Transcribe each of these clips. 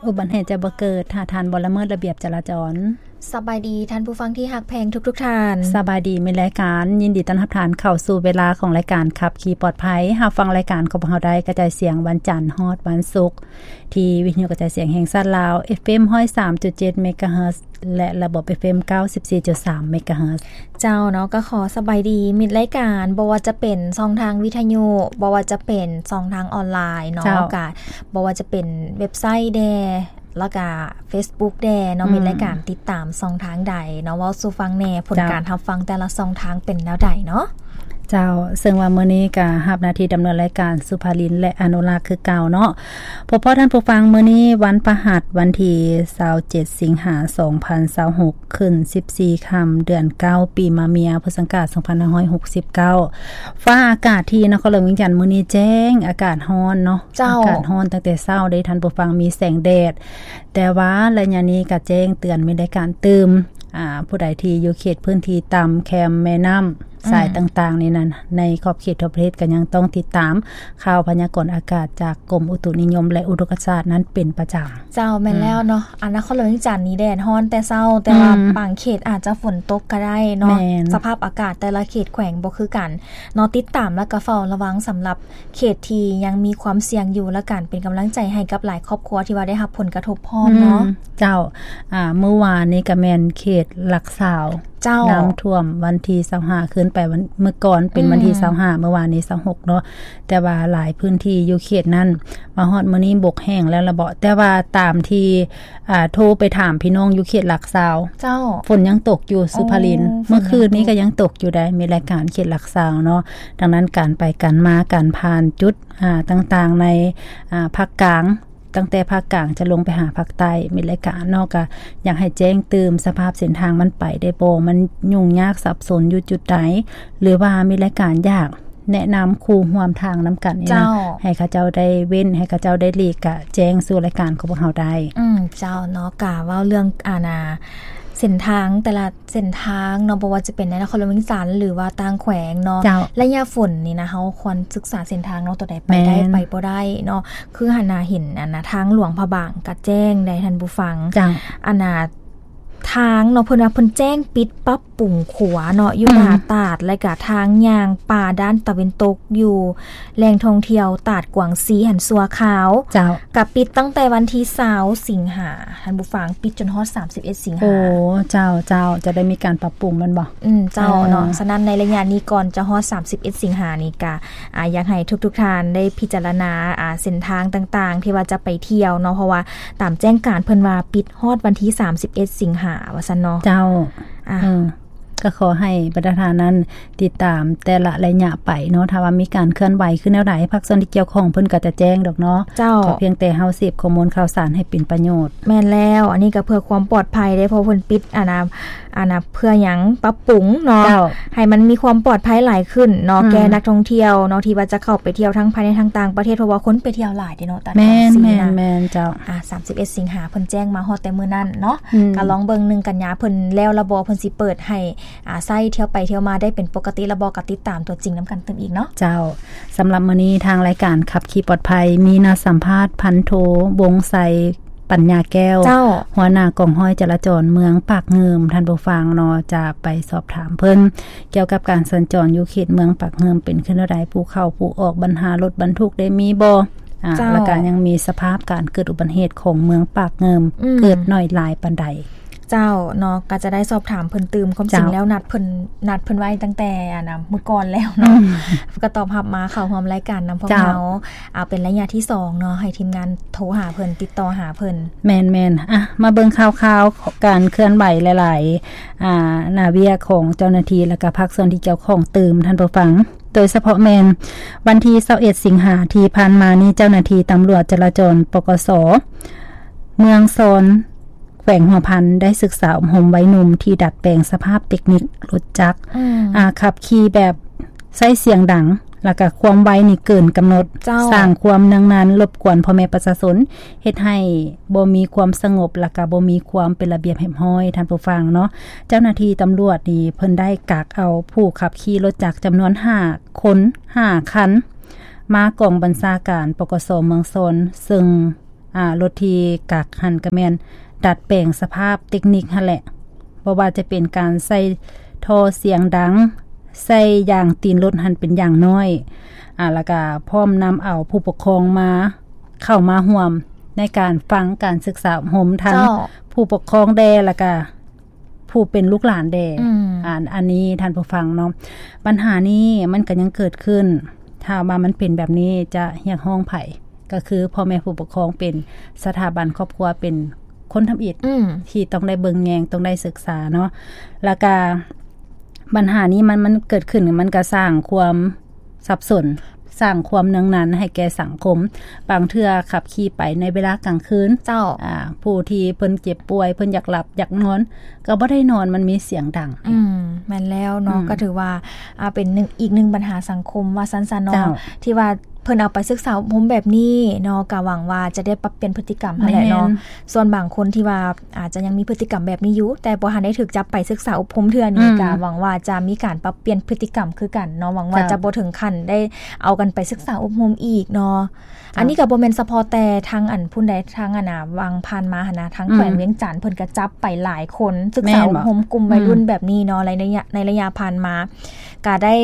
ອຸບັດເຫດຈະບໍ່ເກີດ ຖ້າທ່ານບໍ່ລະເມີດລະບຽບຈະລາຈອນ. ສະບາຍດີທ່ານຜູ້ຟັງທີ່ຮັກແພງທຸກໆທ່ານ. ສະບາຍດີ ມີລາຍການ ຍິນດີຕ້ອນຮັບທ່ານເຂົ້າສູ່ເວລາຂອງລາຍການຂັບຂີ່ປອດໄພ. ຮັບຟັງລາຍການຂອງພວກເຮົາໄດ້ກະຈາຍສຽງວັນຈັນຮອດວັນສຸກ ທີ່ວິທະຍຸກະຈາຍສຽງແຫ່ງຊາດລາວ ເອຟເອັມຮ້ອຍສາມຈຸດເຈັດເມກາເຮີດ ແລະ ລະບົບ ເອຟເອັມເກົ້າສິບສີ່ຈຸດສາມເມກາເຮີດ. ເຈົ້າເນາະ ກໍຂໍສະບາຍດີມິດລາຍການ ບໍ່ວ່າຈະເປັນຊ່ອງທາງວິທະຍຸ ບໍ່ວ່າຈະເປັນຊ່ອງທາງອອນລາຍເນາະ ເຈົ້າ ກະບໍ່ວ່າຈະເປັນເວັບໄຊແດ່ ແລ້ວກະເຟສບຸກແດ່ເນາະ ອືມ ມິດລາຍການຕິດຕາມຊ່ອງທາງໃດເນາະ ເວົ້າສູ່ຟັງແດ່ ຜົນ ເຈົ້າ ການຮັບຟັງແຕ່ລະຊ່ອງທາງເປັນແນວໃດເນາະ. ເຈົ້າ ເຊິ່ງວ່າມື້ນີ້ກະຮັບໜ້າທີ່ດຳເນີນລາຍການສຸພາລິນ ແລະ ອະນຸລັກຄືເກົ່າເນາະ. ພົບພໍ້ທ່ານຜູ້ຟັງ ມື້ນີ້ວັນພະຫັດ ວັນທີຊາວເຈັດ ສິງຫາ ສອງພັນຊາວຫົກ ຂຶ້ນສິບສີ່ຄ່ຳ ເດືອນເກົ້າ ປີມະເມຍ ພຸດສັງກາດ ສອງພັນຫ້າຮ້ອຍຫົກສິບເກົ້າ. ຟ້າອາກາດທີ່ນະຄອນຫຼວງວຽງຈັນມື້ນີ້ແຈ້ງ ອາກາດຮ້ອນເນາະ. ເຈົ້າ ອາກາດຮ້ອນຕັ້ງແຕ່ເຊົ້າເດ້ທ່ານຜູ້ຟັງ ມີແສງແດດ ແຕ່ວ່າໄລຍະນີ້ກະແຈ້ງເຕືອນ ມີລາຍການຕື່ມ ອາ ຜູ້ໃດທີ່ຢູ່ເຂດພື້ນທີ່ຕ່ຳ ແຄມແມ່ນ້ຳ ອືມ ສາຍຕ່າງໆນີ້ນັ້ນ ໃນຂອບເຂດທົ່ວປະເທດກະຍັງຕ້ອງຕິດຕາມຂ່າວພະຍາກອນອາກາດຈາກກົມອຸຕຸນິຍົມ ແລະ ອຸທົກກະສາດນັ້ນເປັນປະຈຳ. ເຈົ້າ ແມ່ນແລ້ວເນາະ ອືມ ອາ ນະຄອນຫຼວງວຽງຈັນນີ້ແດດຮ້ອນແຕ່ເຊົ້າ ແຕ່ວ່າ ອືມ ບາງເຂດອາດຈະຝົນຕົກກະໄດ້ເນາະ. ແມ່ນ ສະພາບອາກາດແຕ່ລະເຂດແຂວງບໍ່ຄືກັນເນາະ ຕິດຕາມ ແລ້ວກະເຝົ້າລະວັງສຳລັບ ເຂດທີ່ຍັງມີຄວາມສ່ຽງຢູ່ ແລະ ການເປັນກຳລັງໃຈໃຫ້ກັບຫຼາຍຄອບຄົວທີ່ວ່າໄດ້ຮັບຜົນກະທົບພ້ອມເນາະ. ອືມ ເຈົ້າ ອາ ມື້ວານນີ້ກະແມ່ນເຂດຫຼັກຊາວ ເຈົ້າ ນ້ຳຖ້ວມວັນທີຊາວຫ້າ ຂຶ້ນໄປວັນ ມື້ກ່ອນເປັນ ອືມ ວັນທີຊາວຫ້າ ມື້ວານນີ້ຊາວຫົກເນາະ ແຕ່ວ່າຫຼາຍພື້ນທີ່ຢູ່ເຂດນັ້ນ ມາຮອດມື້ນີ້ບົກແຫ້ງແລ້ວລະເບາະ ແຕ່ວ່າຕາມທີ່ ອາ ໂທໄປຖາມພີ່ນ້ອງຢູ່ເຂດຫຼັກຊາວ ເຈົ້າ ຝົນຍັງຕົກຢູ່ ສຸພາລິນ ໂອ້ ເມື່ອຄືນນີ້ກະຍັງຕົກຢູ່ໃດ໋ ມີລາຍການເຂດຫຼັກຊາວເນາະ. ດັ່ງນັ້ນການໄປການມາ ການຜ່ານຈຸດ ອາ ຕ່າງໆໃນ ອາ ພາກກາງ ຕັ້ງແຕ່ພາກກາງຈະລົງໄປຫາພາກໃຕ້ ມີລາຍການເນາະ ກະຢາກໃຫ້ແຈ້ງຕື່ມສະພາບເສັ້ນທາງມັນໄປໄດ້ບໍ່ ມັນຫຍຸ້ງຍາກສັບສົນຢູ່ຈຸດໃດ ຫຼືວ່າມີລາຍການຢາກ ແນະນຳຄູ່ຮ່ວມທາງນຳກັນນີ້ນະ ເຈົ້າ ໃຫ້ເຂົາເຈົ້າໄດ້ເວັ້ນ ໃຫ້ເຂົາເຈົ້າໄດ້ຫຼີກ ກະແຈ້ງສູ່ລາຍການຂອງພວກເຮົາໄດ້. ອືມ ເຈົ້າເນາະ ກະເວົ້າເລື່ອງ ອາ ນາ ເສັ້ນທາງ ແຕ່ລະເສັ້ນທາງເນາະ ບໍ່ວ່າຈະເປັນໃນນະຄອນຫຼວງວຽງຈັນ ຫຼືວ່າຕ່າງແຂວງເນາະ ເຈົ້າ ໄລຍະຝົນນີ້ນະ ເຮົາຄວນສຶກສາເສັ້ນທາງເນາະ ໂຕໃດໄປໄດ້ ແມ່ນ ໄປບໍ່ໄດ້ເນາະ. ຄືຫັ້ນນະ ເຫັນ ອາ ນາ ທາງຫຼວງພະບາງກະແຈ້ງໄດ໋ທ່ານຜູ້ຟັງ ເຈົ້າ ອັນນາ ທາງເນາະ ເພິ່ນວ່າເພິ່ນແຈ້ງປິດປັບປຸງຂົວເນາະ ຢູ່ ອືມ ໜ້າຕາດ ແລະກະທາງຍ່າງປ່າດ້ານຕາເວັນຕົກ ຢູ່ແຫຼ່ງທ່ອງທ່ຽວຕາດກວາງຊີຫັ້ນຊົ່ວຄາວ ເຈົ້າ ກະປິດຕັ້ງແຕ່ວັນທີຊາວ ສິງຫາ ທ່ານຜູ້ຟັງ ປິດຈົນຮອດສາມສິບເອັດ ສິງຫາ. ໂອ້ ເຈົ້າ ເຈົ້າ ຈະໄດ້ມີການປັບປຸງແມ່ນບໍ່? ອືມ ເຈົ້າ ເອີ ເນາະ ສະນັ້ນໃນໄລຍະນີ້ກ່ອນຈະຮອດສາມສິບເອັດ ສິງຫານີ້ກະ ອາ ຢາກໃຫ້ທຸກໆທ່ານໄດ້ພິຈາລະນາ ອາ ເສັ້ນທາງຕ່າງໆ ທີ່ວ່າຈະໄປທ່ຽວເນາະ ເພາະວ່າຕາມແຈ້ງການເພິ່ນວ່າປິດ ຮອດວັນທີສາມສິບເອັດ ສິງຫາ ວ່າຊັ້ນເນາະ. ເຈົ້າ ອາ ເອີ ກໍຂໍໃຫ້ບັນດາທ່ານນັ້ນຕິດຕາມແຕ່ລະໄລຍະໄປເນາະ ຖ້າວ່າມີການເຄື່ອນໄຫວຄືແນວໃດ ພາກສ່ວນທີ່ກ່ຽວຂ້ອງເພິ່ນກໍຈະແຈ້ງດອກເນາະ. ເຈົ້າ ຂໍພຽງແຕ່ເຮົາເສບຂໍ້ມູນຂ່າວສານໃຫ້ເປັນປະໂຫຍດ. ແມ່ນແລ້ວ ອັນນີ້ກໍເພື່ອຄວາມປອດໄພເດ້ ເພາະເພິ່ນປິດ ອັນນະ ອັນນະ ເພື່ອຫຍັງ ປັບປຸງເນາະ ເຈົ້າ ໃຫ້ມັນມີຄວາມປອດໄພຫຼາຍຂຶ້ນເນາະ ອືມ ແກ່ນັກທ່ອງທ່ຽວເນາະ ທີ່ວ່າຈະເຂົ້າໄປທ່ຽວທັງພາຍໃນທັງຕ່າງປະເທດ ເພາະວ່າຄົນໄປທ່ຽວຫຼາຍເດ້ເນາະ ຕາດກວາງຊີນະ. ແມ່ນ ແມ່ນ ເຈົ້າ. ອາ ສາມສິບເອັດ ສິງຫາ ເພິ່ນແຈ້ງມາຮອດແຕ່ມື້ນັ້ນເນາະ ອືມ ກໍລອງເບິ່ງ ໜຶ່ງ ກັນຍາ ເພິ່ນແລ້ວລະບໍ່ ເພິ່ນຊິເປີດໃຫ້ ອາ ໃຊ້ທ່ຽວໄປທ່ຽວມາໄດ້ເປັນປົກກະຕິລະບໍ່ ກໍຕິດຕາມຕົວຈິງນຳກັນຕື່ມອີກເນາະ. ເຈົ້າ ສຳລັບມື້ນີ້ທາງລາຍການຂັບຂີ່ປອດໄພ ມີນັດສຳພາດພັນໂທ ວົງໄຊ ປັນຍາແກ້ວ ເຈົ້າ ຫົວໜ້າກອງຮ້ອຍຈະລາຈອນເມືອງປາກງື່ມ ທ່ານຜູ້ຟັງເນາະ ຈະໄປສອບຖາມເພິ່ນກ່ຽວກັບການສັນຈອນຢູ່ເຂດເມືອງປາກງື່ມ ເປັນຄືແນວໃດ ຜູ້ເຂົ້າຜູ້ອອກ ບັນຫາລົດບັນທຸກໄດ້ມີບໍ່ ອາ ເຈົ້າ ແລ້ວກະຍັງມີສະພາບການເກີດອຸບັດເຫດຂອງເມືອງປາກງື່ມ ອືມ ເກີດໜ້ອຍຫຼາຍປານໃດ. ເຈົ້າເນາະ ກໍຈະໄດ້ສອບຖາມເພິ່ນຕື່ມ ຄວາມຈິງ ເຈົ້າ ແລ້ວນັດເພິ່ນ ນັດເພິ່ນໄວ້ຕັ້ງແຕ່ ອັນນະ ມື້ກ່ອນແລ້ວເນາະ ອືມ ກໍຕອບຮັບມາເຂົ້າຮ່ວມລາຍການນຳພວກ ເຈົ້າ ເຮົາ ເອົາເປັນໄລຍະທີສອງເນາະ ໃຫ້ທີມງານໂທຫາເພິ່ນ ຕິດຕໍ່ຫາເພິ່ນ. ແມ່ນໆ ອະ ມາເບິ່ງຂ່າວໆ ການເຄື່ອນໄຫວຫຼາຍໆ ອາ ໜ້າວຽກຂອງເຈົ້າໜ້າທີ່ ແລະກະພາກສ່ວນທີ່ກ່ຽວຂ້ອງຕື່ມ ທ່ານຜູ້ຟັງ. ໂດຍສະເພາະແມ່ນວັນທີຊາວເອັດ ສິງຫາທີ່ຜ່ານມານີ້ ເຈົ້າໜ້າທີ່ຕຳຫຼວດຈະລາຈອນ ປກສ ເມືອງຊອນ ແຂວງຫົວພັນ ໄດ້ສຶກສາອົບຮົມໄວໜຸ່ມທີ່ດັດແປງສະພາບເຕັກນິກລົດຈັກ ອືມ ອາ ຂັບຂີ່ແບບໃຊ້ສຽງດັງ ແລ້ວກະຄວາມໄວນີ້ເກີນກຳນົດ ເຈົ້າ ສ້າງຄວາມເນືອງນານລົບກວນພໍ່ແມ່ປະຊາຊົນ ເຮັດໃຫ້ບໍ່ມີຄວາມສະຫງົບ ແລ້ວກະບໍ່ມີຄວາມເປັນລະບຽບຮຽບຮ້ອຍ ທ່ານຜູ້ຟັງເນາະ. ເຈົ້າໜ້າທີ່ຕຳຫຼວດນີ້ເພິ່ນໄດ້ກັກເອົາຜູ້ຂັບຂີ່ລົດຈັກຈຳນວນຫ້າຄົນ ຫ້າຄັນ ມາກອງບັນຊາການ ປກສ ເມືອງຊອນ ເຊິ່ງ ອ່າ ລົດທີ່ກັກຫັ້ນກໍແມ່ນດັດແປງສະພາບເຕັກນິກຫັ້ນແຫຼະ ບໍ່ວ່າຈະເປັນການໃສ່ທໍ່ສຽງດັງ, ໃສ່ຢາງຕີນລົດຫັ້ນເປັນຢາງນ້ອຍ ອ່າ ແລ້ວກໍພ້ອມນຳເອົາຜູ້ປົກຄອງມາ ເຂົ້າມາຮ່ວມໃນການຟັງການສຶກສາອົບຮົມ ທັງ ເຈົ້າ ຜູ້ປົກຄອງແດ່ ແລ້ວກໍ ຜູ້ເປັນລູກຫຼານແດ່ ອືມ ອັນ ອັນນີ້ທ່ານຜູ້ຟັງເນາະ ບັນຫານີ້ມັນກໍຍັງເກີດຂຶ້ນ. ຖ້າວ່າມັນເປັນແບບນີ້ຈະຮຽກຮ້ອງໃຜ? ກໍຄືພໍ່ແມ່ຜູ້ປົກຄອງເປັນສະຖາບັນຄອບຄົວ ເປັນຄົນທຳອິດ ອືມ ທີ່ຕ້ອງໄດ້ເບິ່ງແຍງ ຕ້ອງໄດ້ສຶກສາເນາະ ແລ້ວກະບັນຫານີ້ມັນ ມັນເກີດຂຶ້ນ ມັນກະສ້າງຄວາມ ສັບສົນ ສ້າງຄວາມເໜືອງໜັນໃຫ້ແກ່ສັງຄົມ. ບາງເທື່ອຂັບຂີ່ໄປໃນເວລາກາງຄືນ ເຈົ້າ ອ່າ ຜູ້ທີ່ເພິ່ນເຈັບປ່ວຍ ເພິ່ນຢາກຫຼັບຢາກນອນ ກໍບໍ່ໄດ້ນອນ ມັນມີສຽງດັງ. ອືມ ແມ່ນແລ້ວເນາະ ອືມ ກໍຖືວ່າ ອ່າ ເປັນໜຶ່ງ ອີກໜຶ່ງບັນຫາສັງຄົມວ່າຊັ້ນຊະເນາະ ເຈົ້າ ທີ່ວ່າເພິ່ນເອົາໄປສຶກສາອົບຮົມແບບນີ້ເນາະ ກໍຫວັງວ່າຈະໄດ້ປັບປ່ຽນພຶດຕິກຳຫັ້ນແຫຼະເນາະ. ແມ່ນ ສ່ວນບາງຄົນທີ່ວ່າອາດຈະຍັງມີພຶດຕິກຳແບບນີ້ຢູ່ ແຕ່ບໍ່ທັນໄດ້ຖືກຈັບໄປສຶກສາອົບຮົມເທື່ອນີ້ ອືມ ກໍຫວັງວ່າຈະມີການປັບປ່ຽນພຶດຕິກຳຄືກັນເນາະ ຫວັງວ່າ ເຈົ້າ ຈະບໍ່ເຖິງຂັ້ນໄດ້ເອົາກັນໄປສຶກສາອົບຮົມອີກເນາະ. ເຈົ້າ ອັນນີ້ກໍບໍ່ແມ່ນສະເພາະແຕ່ທາງອັນພຸ້ນໃດ ທາງອັນນ່າ ຫວ່າງຜ່ານມາຫັ້ນນະ ທາງ ອືມ ແຂວງວຽງຈັນເພິ່ນກໍຈັບໄປຫຼາຍຄົນ ສຶກສາອົບຮົມ ແມ່ນບໍ່? ກຸ່ມໄວລຸ້ນ ອືມ ແບບນີ້ເນາະ ໃນໄລຍະ ໃນໄລຍະຜ່ານມາ ກໍໄດ້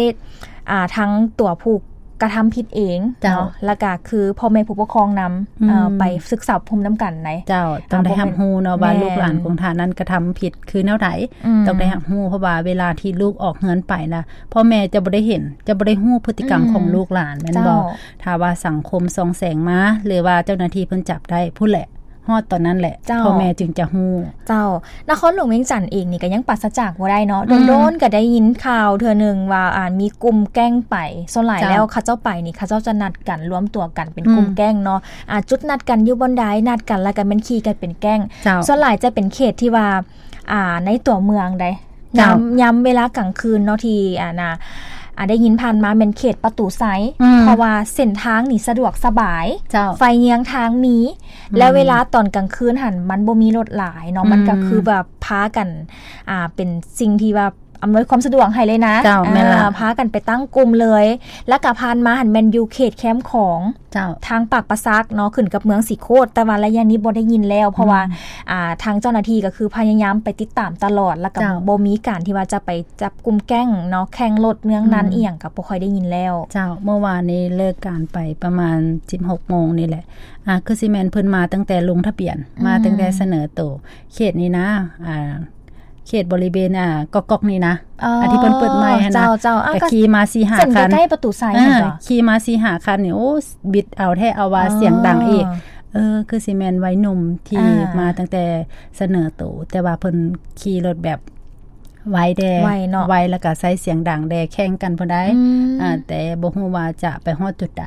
ອ່າ ທັງຕົວຜູ້ກະທຳຜິດເອງ ເຈົ້າ ເນາະ ແລ້ວກະຄືພໍ່ແມ່ຜູ້ປົກຄອງນຳ ອືມ ເອີ່ ໄປສຶກສາອົບຮົມນຳກັນໃດ໋. ເຈົ້າ ຕ້ອງໄດ້ຮັບຮູ້ເນາະວ່າ ແມ່ນ ລູກຫຼານຂອງທ່ານນັ້ນກະທຳຜິດຄືແນວໃດ ອືມ ຕ້ອງໄດ້ຮັບຮູ້ ເພາະວ່າເວລາທີ່ລູກອອກເຮືອນໄປນະ ພໍ່ແມ່ຈະບໍ່ໄດ້ເຫັນ ຈະບໍ່ໄດ້ຮູ້ພຶດຕິກຳ ອືມ ຂອງລູກຫຼານ ແມ່ນບໍ່? ເຈົ້າ ຖ້າວ່າສັງຄົມສ່ອງແສງມາ ຫຼືວ່າເຈົ້າໜ້າທີ່ເພິ່ນຈັບໄດ້ ພຸ້ນແຫຼະ ຮອດຕອນນັ້ນແຫຼະ ເຈົ້າ ພໍ່ແມ່ຈຶ່ງຈະຮູ້. ເຈົ້າ ນະຄອນຫຼວງວຽງຈັນເອງນີ້ກໍຍັງປາສະຈາກບໍ່ໄດ້ເນາະ ອືມ ໂດນໆກໍໄດ້ຍິນຂ່າວເທື່ອໜຶ່ງວ່າ ອ່າ ມີກຸ່ມແກ້ງໄປ ສ່ວນຫຼາຍ ເຈົ້າ ແລ້ວເຂົາເຈົ້າໄປນີ້ ເຂົາເຈົ້າຈະນັດກັນ ລວມຕົວກັນເປັນ ອືມ ກຸ່ມແກ້ງເນາະ ອ່າ ຈຸດນັດກັນຢູ່ບ່ອນໃດ ນັດກັນແລ້ວກໍແມ່ນຂີ່ກັນເປັນແກ້ງ ເຈົ້າ ສ່ວນຫຼາຍຈະເປັນເຂດທີ່ວ່າ ອ່າ ໃນຕົວເມືອງໃດ໋ ເຈົ້າ ຍາມ ຍາມເວລາກາງຄືນເນາະ ທີ່ ອ່າ ນະ ອ່າ ໄດ້ຍິນຜ່ານມາແມ່ນເຂດປະຕູໄຊ ອືມ ເພາະວ່າເສັ້ນທາງນີ້ສະດວກສະບາຍ ເຈົ້າ ໄຟເຍືອງທາງມີ ອືມ ແລ້ວເວລາຕອນກາງຄືນຫັ້ນມັນບໍ່ມີລົດຫຼາຍເນາະ ອືມ ມັນກໍຄືແບບພາກັນ ອ່າ ເປັນສິ່ງທີ່ວ່າອຳນວຍຄວາມສະດວກໃຫ້ເລີຍນະ ເຈົ້າ ແມ່ນລະ ອ່າ ພາກັນໄປຕັ້ງກຸ່ມເລີຍ ແລ້ວກໍຜ່ານມາຫັ້ນແມ່ນຢູ່ເຂດແຄມຂອງ ເຈົ້າ ທາງປາກປາສັກເນາະ ຂຶ້ນກັບເມືອງສີໂຄດ ແຕ່ວ່າໄລຍະນີ້ບໍ່ໄດ້ຍິນແລ້ວ ເພາະວ່າ ອືມ ອ່າ ທາງເຈົ້າໜ້າທີ່ກໍຄືພະຍາຍາມໄປຕິດຕາມຕະຫຼອດ ແລ້ວກໍ ເຈົ້າ ບໍ່ມີການທີ່ວ່າຈະໄປຈັບກຸ່ມແກ້ງເນາະ ແຂ່ງລົດເມືອງນັ້ນ ອືມ ອີ່ຫຍັງກໍບໍ່ຄ່ອຍໄດ້ຍິນແລ້ວ. ເຈົ້າ ເມື່ອວານນີ້ເລີກການໄປປະມານສິບຫົກໂມງນີ້ແຫຼະ ອ່າ ຄືຊິແມ່ນເພິ່ນມາຕັ້ງແຕ່ລົງທະບຽນ ອືມ ມາຕັ້ງແຕ່ສະເໜີໂຕ ເຂດນີ້ນະ ອ່າ ເຂດບໍລິເວນ ອ່າ ກອກໆນີ້ນະ ເອີ ອັນທີ່ເພິ່ນເປີດໃໝ່ຫັ້ນນະ ເຈົ້າໆ ອ່າ ກໍຂີ່ມາສີ່ຫ້າຄັນ ເສັ້ນໃກ້ໆປະຕູໄຊ ເອີ ເຫັນບໍ່? ຂີ່ມາສີ່ຫ້າຄັນນີ້ ໂອ້ ບິດເອົາແທ້ເອົາວ່າ ເອີ ສຽງດັງອີກ ເອີ ຄືຊິແມ່ນໄວໜຸ່ມທີ່ ອ່າ ມາຕັ້ງແຕ່ສະເໜີໂຕ ແຕ່ວ່າເພິ່ນຂີ່ລົດແບບໄວແດ່ ໄວເນາະ ໄວ ແລ້ວກໍໃຊ້ສຽງດັງແດ່ ແຂ່ງກັນພຸ້ນໃດ ອືມ ອ່າ ແຕ່ບໍ່ຮູ້ວ່າຈະໄປຮອດຈຸດໃດ.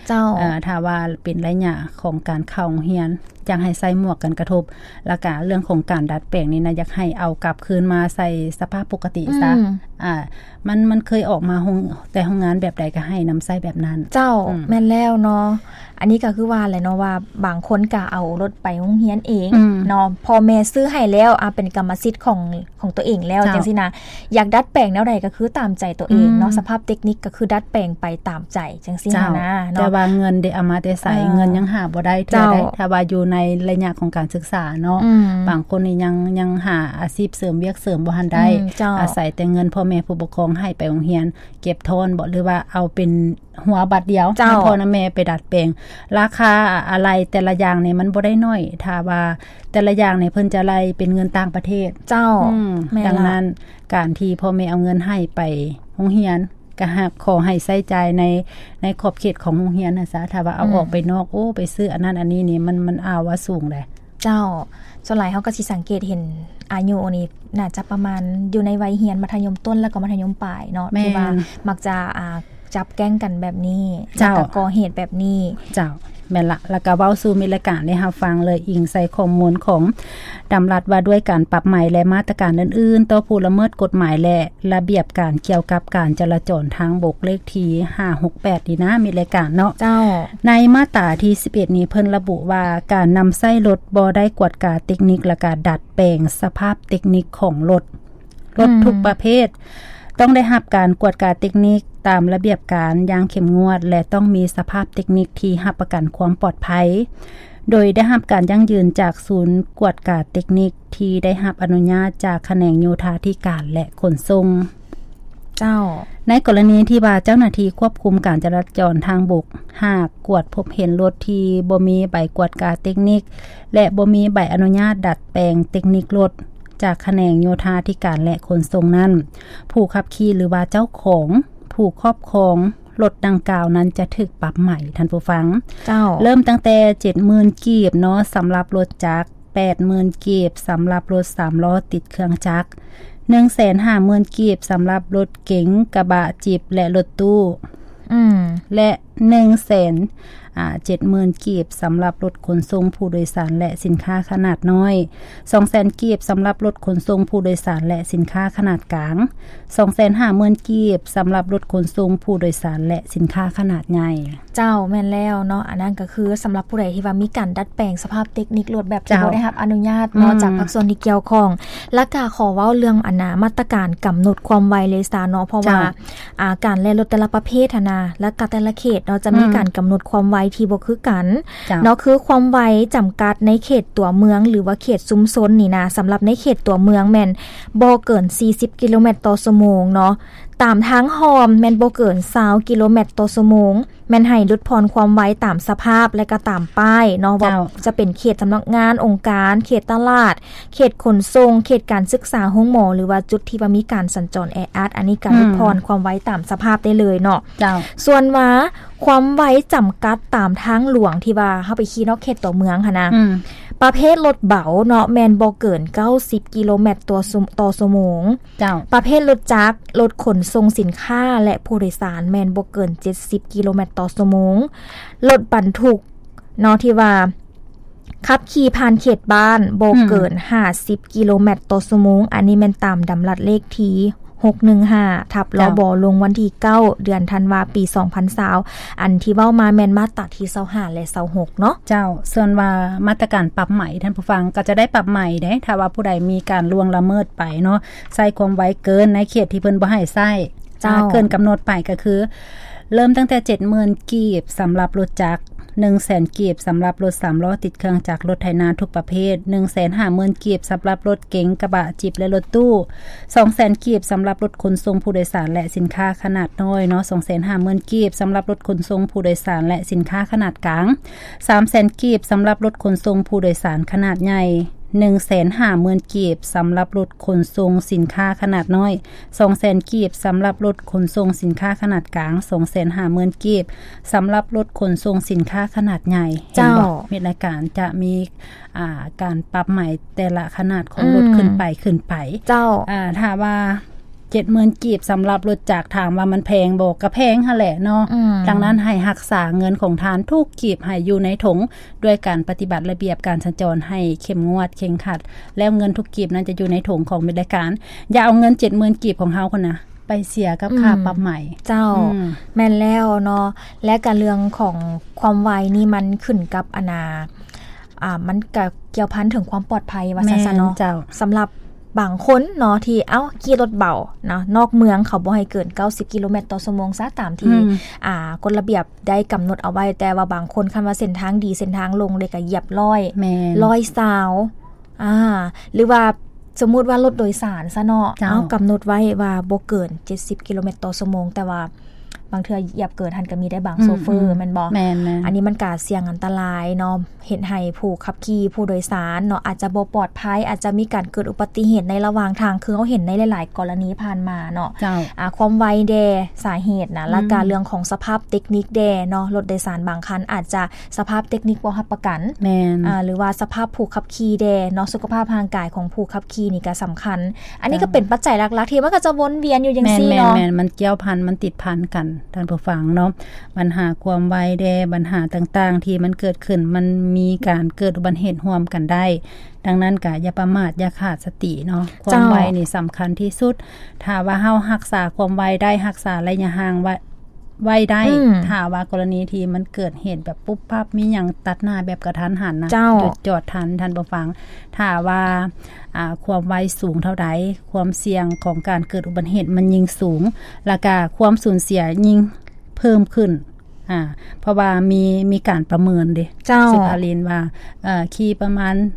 ເຈົ້າ ເອີ ຖ້າວ່າເປັນໄລຍະຂອງການເຂົ້າໂຮງຮຽນ ຢາກໃຫ້ໃສ່ໝວກກັນກະທົບ ແລ້ວກະເລື່ອງຂອງການດັດແປງນີ້ນະ ຢາກໃຫ້ເອົາກັບຄືນມາໃສ່ສະພາບປົກກະຕິຊະ ອືມ ອ່າ ມັນ ມັນເຄີຍອອກມາໂຮງ ແຕ່ໂຮງງານແບບໃດກໍໃຫ້ນຳໃຊ້ແບບນັ້ນ. ເຈົ້າ ອືມ ແມ່ນແລ້ວເນາະ ອັນນີ້ກໍຄືວ່າແຫຼະເນາະ ວ່າບາງຄົນກໍເອົາລົດໄປໂຮງຮຽນເອງ ອືມ ເນາະ ພໍ່ແມ່ຊື້ໃຫ້ແລ້ວ ອ່າ ເປັນກຳມະສິດຂອງ ຂອງຕົວເອງແລ້ວ ເຈົ້າ ຈັ່ງຊີ້ນະ ຢາກດັດແປງແນວໃດກໍຄືຕາມໃຈຕົວເອງເນາະ ອືມ ສະພາບເຕັກນິກກໍຄືດັດແປງໄປຕາມໃຈຈັ່ງຊີ້ ເຈົ້າ ນະເນາະ ແຕ່ວ່າເງິນເດ ເອົາມາແຕ່ໃສ ເອີ ເງິນຍັງຫາບໍ່ໄດ້ເທື່ອໃດ ເຈົ້າ ຖ້າວ່າຢູ່ໃນໄລຍະຂອງການສຶກສາເນາະ ອືມ ບາງຄົນນີ້ຍັງ ຍັງຫາອາຊີບເສີມ ວຽກເສີມບໍ່ທັນໄດ້ ອືມ ເຈົ້າ ອາໄສແຕ່ເງິນພໍ່ແມ່ຜູ້ປົກຄອງໃຫ້ໄປໂຮງຮຽນ ເກັບທ້ອນບໍ ຫຼືວ່າເອົາເປັນ ຫົວບາດດຽວ ເຈົ້າ ໃຫ້ພໍ່ນຳແມ່ໄປດັດແປງ ລາຄາອາໄຫຼ່ແຕ່ລະຢ່າງນີ້ມັນບໍ່ໄດ້ໜ້ອຍ ຖ້າວ່າແຕ່ລະຢ່າງນີ້ເພິ່ນຈະໄລ່ເປັນເງິນຕ່າງປະເທດ ເຈົ້າ ອືມ ແມ່ນລະ ດັ່ງນັ້ນ ການທີ່ພໍ່ແມ່ເອົາເງິນໃຫ້ໄປໂຮງຮຽນ ກໍຫາກຂໍໃຫ້ໃຊ້ຈ່າຍໃນ ໃນຂອບເຂດຂອງໂຮງຮຽນຫັ້ນຊະ ຖ້າວ່າເອົາ ອືມ ອອກໄປນອກ ໂອ້ ໄປຊື້ອັນນັ້ນອັນນີ້ນີ້ ມັນ ມັນອາວວ່າສູງເດ້. ເຈົ້າ ສ່ວນຫຼາຍເຮົາກໍຊິສັງເກດເຫັນອາຍຸນີ້ໜ້າຈະປະມານຢູ່ໃນໄວຮຽນມັດທະຍົມຕົ້ນ ແລ້ວກໍມັດທະຍົມປາຍເນາະ ແມ່ນ ທີ່ວ່າມັກຈະ ອ່າ ຈັບແກ້ງກັນແບບນີ້ ເຈົ້າ ແລ້ວກໍກໍ່ເຫດແບບນີ້ ເຈົ້າ ແມ່ນລະ ແລ້ວກໍເວົ້າສູ່ມິດລາຍການໄດ້ຮັບຟັງເລີຍ ອີງໃສ່ຂໍ້ມູນຂອງດຳລັດວ່າດ້ວຍການປັບໃໝ ແລະ ມາດຕະການອື່ນໆ ຕໍ່ຜູ້ລະເມີດກົດໝາຍ ແລະ ລະບຽບການກ່ຽວກັບການຈະລາຈອນທາງບົກ ເລກທີຫ້າຫົກແປດນີ້ນະ ມິດລາຍການເນາະ ເຈົ້າ ໃນມາດຕາທີສິບເອັດນີ້ ເພິ່ນລະບຸວ່າ ການນຳໃຊ້ລົດບໍ່ໄດ້ກວດກາເຕັກນິກ ແລະ ກະດັດແປງສະພາບເຕັກນິກຂອງລົດ ລົດ ອືມ ທຸກປະເພດ ຕ້ອງໄດ້ຮັບການກວດກາເຕັກນິກຕາມລະບຽບການຢ່າງເຂັ້ມງວດ ແລະ ຕ້ອງມີສະພາບເຕັກນິກທີ່ຮັບປະກັນຄວາມປອດໄພ. ໂດຍໄດ້ຮັບການຢັ້ງຢືນຈາກສູນກວດກາເຕັກນິກ ທີ່ໄດ້ຮັບອະນຸຍາດຈາກຂະແໜງໂຍທາທິການ ແລະ ຂົນສົ່ງ. ເຈົ້າ. ໃນກໍລະນີທີ່ວ່າເຈົ້າໜ້າທີ່ຄວບຄຸມການຈະລາຈອນທາງບົກ ຫາກກວດພົບເຫັນລົດທີ່ບໍ່ມີໃບກວດກາເຕັກນິກ ແລະ ບໍ່ມີໃບອະນຸຍາດດັດແປງເຕັກນິກລົດ ຈາກຂະແໜງໂຍທາທິການ ແລະ ຂົນສົ່ງນັ້ນ, ຜູ້ຂັບຂີ່ ຫຼືວ່າເຈົ້າຂອງ, ຜູ້ຄອບຄອງ ລົດດັ່ງກ່າວນັ້ນຈະຖືກປັບໃໝ, ທ່ານຜູ້ຟັງ. ເຈົ້າ. ເລີ່ມຕັ້ງແຕ່ເຈັດໝື່ນກີບເນາະ ສຳລັບລົດຈັກ, ແປດໝື່ນກີບ ສຳລັບລົດສາມລໍ້ຕິດເຄື່ອງຈັກ, ໜຶ່ງແສນຫ້າໝື່ນກີບ ສຳລັບລົດເກັງ, ກະບະ, ຈິບ ແລະ ລົດຕູ້. ອືມ. ແລະ ໜຶ່ງແສນ ອ່າ ເຈັດໝື່ນກີບ ສຳລັບລົດຂົນສົ່ງຜູ້ໂດຍສານ ແລະ ສິນຄ້າຂະໜາດນ້ອຍ, ສອງແສນກີບ ສຳລັບລົດຂົນສົ່ງຜູ້ໂດຍສານ ແລະ ສິນຄ້າຂະໜາດກາງ, ສອງແສນຫ້າໝື່ນກີບ ສຳລັບລົດຂົນສົ່ງຜູ້ໂດຍສານ ແລະ ສິນຄ້າຂະໜາດໃຫຍ່. ເຈົ້າ, ແມ່ນແລ້ວເນາະ. ອັນນັ້ນກໍຄືສຳລັບຜູ້ໃດທີ່ວ່າມີການດັດແປງສະພາບເຕັກນິກລົດແບບທີ່ ເຈົ້າ ບໍ່ໄດ້ຮັບອະນຸຍາດເນາະ ອືມ ຈາກພາກສ່ວນທີ່ກ່ຽວຂ້ອງ. ແລ້ວກໍຂໍເວົ້າເລື່ອງອັນນ່າ ມາດຕະການກຳນົດຄວາມໄວເລີຍຊະເນາະ, ເພາະວ່າ ເຈົ້າ ອ່າ ການແລ່ນລົດແຕ່ລະປະເພດຫັ້ນນະ ແລ້ວກໍແຕ່ລະເຂດເນາະ ຈະມີ ອືມ ການກຳນົດຄວາມໄວທີ່ບໍ່ຄືກັນ ເຈົ້າ ເນາະ. ຄືຄວາມໄວຈຳກັດໃນເຂດຕົວເມືອງ ຫຼືວ່າເຂດຊຸມຊົນນີ້ນະ, ສຳລັບໃນເຂດຕົວເມືອງແມ່ນບໍ່ເກີນສີ່ສິບກິໂລແມັດຕໍ່ຊົ່ວໂມງເນາະ, ຕາມທາງຮ່ອມແມ່ນບໍ່ເກີນຊາວກິໂລແມັດຕໍ່ຊົ່ວໂມງ, ແມ່ນໃຫ້ຫຼຸດຜ່ອນຄວາມໄວຕາມສະພາບ ແລະ ກໍຕາມປ້າຍເນາະ ວ່າ ເຈົ້າ ຈະເປັນເຂດສຳນັກງານ, ອົງການ, ເຂດຕະຫຼາດ, ເຂດຂົນສົ່ງ, ເຂດການສຶກສາ, ໂຮງໝໍ ຫຼືວ່າຈຸດທີ່ວ່າມີການສັນຈອນແອອັດ, ອັນນີ້ກໍ ອືມ ຫຼຸດຜ່ອນຄວາມໄວຕາມສະພາບໄດ້ເລີຍເນາະ. ເຈົ້າ. ສ່ວນວ່າຄວາມໄວຈຳກັດຕາມທາງຫຼວງທີ່ວ່າເຮົາໄປຂີ່ນອກເຂດຕົວເມືອງຫັ້ນນະ, ອືມ ປະເພດລົດເບົາເນາະ ແມ່ນບໍ່ເກີນເກົ້າສິບກິໂລແມັດຕໍ່ຊົ່ວ ຕໍ່ຊົ່ວໂມງ. ເຈົ້າ. ປະເພດລົດຈັກ, ລົດຂົນສົ່ງສິນຄ້າ ແລະ ຜູ້ໂດຍສານ ແມ່ນບໍ່ເກີນເຈັດສິບກິໂລແມັດຕໍ່ຊົ່ວໂມງ. ລົດບັນທຸກເນາະ ທີ່ວ່າຂັບຂີ່ຜ່ານເຂດບ້ານບໍ່ເກີນ ອືມ ຫ້າສິບກິໂລແມັດຕໍ່ຊົ່ວໂມງ, ອັນນີ້ແມ່ນຕາມດຳລັດເລກທີຫົກໜຶ່ງຫ້າ ທັບ ລບ ລົງວັນທີເກົ້າ ເດືອນທັນວາ ປີສອງພັນຊາວ. ອັນທີ່ເວົ້າມາແມ່ນມາດຕາທີຊາວຫ້າ ແລະ ຊາວຫົກເນາະ. ເຈົ້າ. ສ່ວນວ່າມາດຕະການປັບໃໝ ທ່ານຜູ້ຟັງ ກໍຈະໄດ້ປັບໃໝເດ້ ຖ້າວ່າຜູ້ໃດມີການລ່ວງລະເມີດໄປເນາະ, ໃຊ້ຄວາມໄວເກີນໃນເຂດທີ່ເພິ່ນບໍ່ໃຫ້ໃຊ້. ເຈົ້າ. ເກີນກຳນົດໄປກໍຄື ເລີ່ມຕັ້ງແຕ່ເຈັດໝື່ນກີບ ສຳລັບລົດຈັກ, ໜຶ່ງແສນກີບ ສຳລັບລົດສາມລໍ້ຕິດເຄື່ອງຈັກ, ລົດໄຖນາທຸກປະເພດ, ໜຶ່ງແສນຫ້າໝື່ນກີບ ສຳລັບລົດເກັງ, ກະບະ, ຈິບ ແລະ ລົດຕູ້, ສອງແສນກີບ ສຳລັບລົດຂົນສົ່ງຜູ້ໂດຍສານ ແລະ ສິນຄ້າຂະໜາດນ້ອຍເນາະ, ສອງແສນຫ້າໝື່ນກີບ ສຳລັບລົດຂົນສົ່ງຜູ້ໂດຍສານ ແລະ ສິນຄ້າຂະໜາດກາງ, ສາມແສນກີບ ສຳລັບລົດຂົນສົ່ງຜູ້ໂດຍສານຂະໜາດໃຫຍ່, ໜຶ່ງແສນຫ້າໝື່ນກີບ ສຳລັບລົດຂົນສົ່ງສິນຄ້າຂະໜາດນ້ອຍ, ສອງແສນກີບ ສຳລັບລົດຂົນສົ່ງສິນຄ້າຂະໜາດກາງ, ສອງແສນຫ້າໝື່ນກີບ ສຳລັບລົດຂົນສົ່ງສິນຄ້າຂະໜາດໃຫຍ່. ເຫັນບໍ່? ເຈົ້າ. ມິດລາຍການຈະມີ ອ່າ ການປັບໃໝແຕ່ລະຂະໜາດຂອງລົດ ອືມ ຂຶ້ນໄປ ຂຶ້ນໄປ. ເຈົ້າ. ອ່າ ຖ້າວ່າເຈັດໝື່ນກີບ ສຳລັບລົດຈັກ ຖາມວ່າມັນແພງບໍ່? ກໍແພງຫັ້ນແຫຼະເນາະ. ອືມ. ດັ່ງນັ້ນ ໃຫ້ຮັກສາເງິນຂອງທ່ານທຸກກີບໃຫ້ຢູ່ໃນຖົງ ດ້ວຍການປະຕິບັດລະບຽບການສັນຈອນໃຫ້ເຂັ້ມງວດເຄັ່ງຄັດ, ແລ້ວເງິນທຸກກີບນັ້ນຈະຢູ່ໃນຖົງຂອງມິດລາຍການ. ຢ່າເອົາເງິນເຈັດໝື່ນກີບຂອງເຮົາພຸ້ນນະ ໄປເສຍກັບ ອືມ ຄ່າປັບໃໝ. ເຈົ້າ. ອືມ. ແມ່ນແລ້ວເນາະ. ແລະກະເລື່ອງຂອງຄວາມໄວນີ້ມັນຂຶ້ນກັບອັນນາ ອ່າ ມັນກະກ່ຽວພັນເຖິງຄວາມປອດໄພວ່າຊັ້ນຊະເນາະ. ແມ່ນເຈົ້າ. ສຳລັບບາງຄົນເນາະ ທີ່ ເອົ້າ ຂີ່ລົດເບົາເນາະ ນອກເມືອງ ເຂົາບໍ່ໃຫ້ເກີນເກົ້າສິບກິໂລແມັດຕໍ່ຊົ່ວໂມງຊະ ຕາມທີ່ ອືມ ອ່າ ກົດລະບຽບໄດ້ກຳນົດເອົາໄວ້, ແຕ່ວ່າບາງຄົນ ຄັນວ່າເສັ້ນທາງດີ ເສັ້ນທາງໂລ່ງເລີຍ ກະຢຽບຮ້ອຍ ແມ່ນ ຮ້ອຍຊາວ ອ່າ ຫຼືວ່າສົມມຸດວ່າລົດໂດຍສານຊະເນາະ ເຈົ້າ ເອົາ ກຳນົດໄວ້ວ່າບໍ່ເກີນເຈັດສິບກິໂລແມັດຕໍ່ຊົ່ວໂມງ, ແຕ່ວ່າບາງເທື່ອຢຽບເກີນຫັ້ນກໍມີໄດ້ບາງ ອືມ ໂຊເຟີ ອືມ ແມ່ນບໍ່? ແມ່ນໆ. ອັນນີ້ມັນກະສ່ຽງອັນຕະລາຍເນາະ ເຮັດໃຫ້ຜູ້ຂັບຂີ່ ຜູ້ໂດຍສານເນາະ ອາດຈະບໍ່ປອດໄພ, ອາດຈະມີການເກີດອຸບັດຕິເຫດໃນລະຫວ່າງທາງ ຄືເຮົາເຫັນໃນຫຼາຍໆກໍລະນີຜ່ານມາເນາະ. ເຈົ້າ. ອ່າ ຄວາມໄວແດ່ ສາເຫດນະ ອືມ ແລ້ວກະເລື່ອງຂອງສະພາບເຕັກນິກແດ່ເນາະ, ລົດໂດຍສານບາງຄັນອາດຈະ ສະພາບເຕັກນິກບໍ່ຮັບປະກັນ ແມ່ນ ອ່າ ຫຼືວ່າສະພາບຜູ້ຂັບຂີ່ແດ່ເນາະ, ສຸຂະພາບຮ່າງກາຍຂອງຜູ້ຂັບຂີ່ນີ້ກະສຳຄັນ. ອັນນີ້ ເຈົ້າ ກໍເປັນປັດໄຈຫຼັກໆ ທີ່ມັນກໍຈະວົນວຽນຢູ່ຈັ່ງຊີ້ເນາະ. ແມ່ນໆ ມັນກ່ຽວພັນ ມັນຕິດພັນກັນ ທ່ານຜູ້ຟັງເນາະ. ບັນຫາຄວາມໄວແດ່ ບັນຫາຕ່າງໆ ທີ່ມັນເກີດຂຶ້ນ ມັນມີການເກີດອຸບັດຕິເຫດຮ່ວມກັນໄດ້. ດັ່ງນັ້ນກະຢ່າປະໝາດ ຢ່າຂາດສະຕິເນາະ. ເຈົ້າ ຄວາມໄວນີ້ສຳຄັນທີ່ສຸດ. ຖ້າວ່າເຮົາຮັກສາຄວາມໄວໄດ້ ຮັກສາໄລຍະຫ່າງໄວ້ ໄວ້ໄດ້ ອືມ ຖ້າວ່າກໍລະນີທີ່ມັນເກີດເຫດແບບປຸບປັບ ມີຫຍັງຕັດໜ້າແບບກະທັນຫັນນະ ເຈົ້າ ຢຸດຈອດທັນ ທ່ານຜູ້ຟັງ. ຖ້າວ່າ ອ່າ ຄວາມໄວສູງເທົ່າໃດ ຄວາມສ່ຽງຂອງການເກີດອຸບັດຕິເຫດມັນຍິ່ງສູງ ແລ້ວກະຄວາມສູນເສຍຍິ່ງເພີ່ມຂຶ້ນ. ອ່າ ເພາະວ່າມີ ມີການປະເມີນເດ້ ເຈົ້າ ສຸພາລິນ ວ່າ ເອີ ຂີ່ປະມານ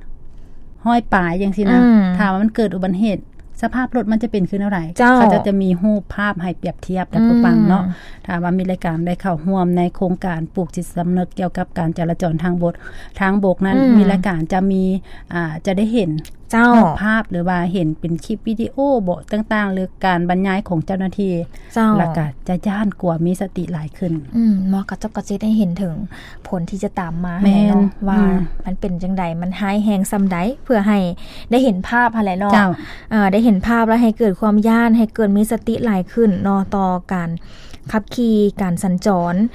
ຮ້ອຍປາຍຈັ່ງຊີ້ນະ ອືມ ຖ້າວ່າມັນເກີດອຸບັດເຫດ ສະພາບລົດມັນຈະເປັນຄືແນວໃດ? ເຈົ້າ ເຂົາເຈົ້າຈະມີຮູບພາບໃຫ້ປຽບທຽບ ທ່ານຜູ້ຟັງເນາະ ອືມ ຖ້າວ່າມີລາຍການໄດ້ເຂົ້າຮ່ວມໃນໂຄງການປູກຈິດສຳນຶກກ່ຽວກັບການຈະລາຈອນທາງບົດ ທາງບົກນັ້ນ ອືມ ມີລາຍການຈະມີ ອ່າ ຈະໄດ້ເຫັນ ເຈົ້າ ຮູບພາບ ຫຼືວ່າເຫັນເປັນຄລິບວິດີໂອບໍ ຕ່າງໆ ຫຼືການບັນຍາຍຂອງເຈົ້າໜ້າທີ່ ເຈົ້າ ແລ້ວກໍຈະຢ້ານກົວ ມີສະຕິຫຼາຍຂຶ້ນ ອືມ ເນາະ ກະເຈົ້າກໍຊິໄດ້ເຫັນເຖິງຜົນທີ່ຈະຕາມມາ ແມ່ນ ຫັ້ນແຫຼະເນາະ ວ່າ ອືມ ມັນເປັນຈັ່ງໃດ ມັນຮ້າຍແຮງສ່ຳໃດ ເພື່ອໃຫ້ໄດ້ເຫັນພາບຫັ້ນແຫຼະເນາະ ເຈົ້າ ເອີ ໄດ້ເຫັນພາບແລ້ວໃຫ້ເກີດຄວາມຢ້ານ ໃຫ້ເກີດມີສະຕິຫຼາຍຂຶ້ນເນາະ ຕໍ່ການຂັບຂີ່ ການສັນຈອນ.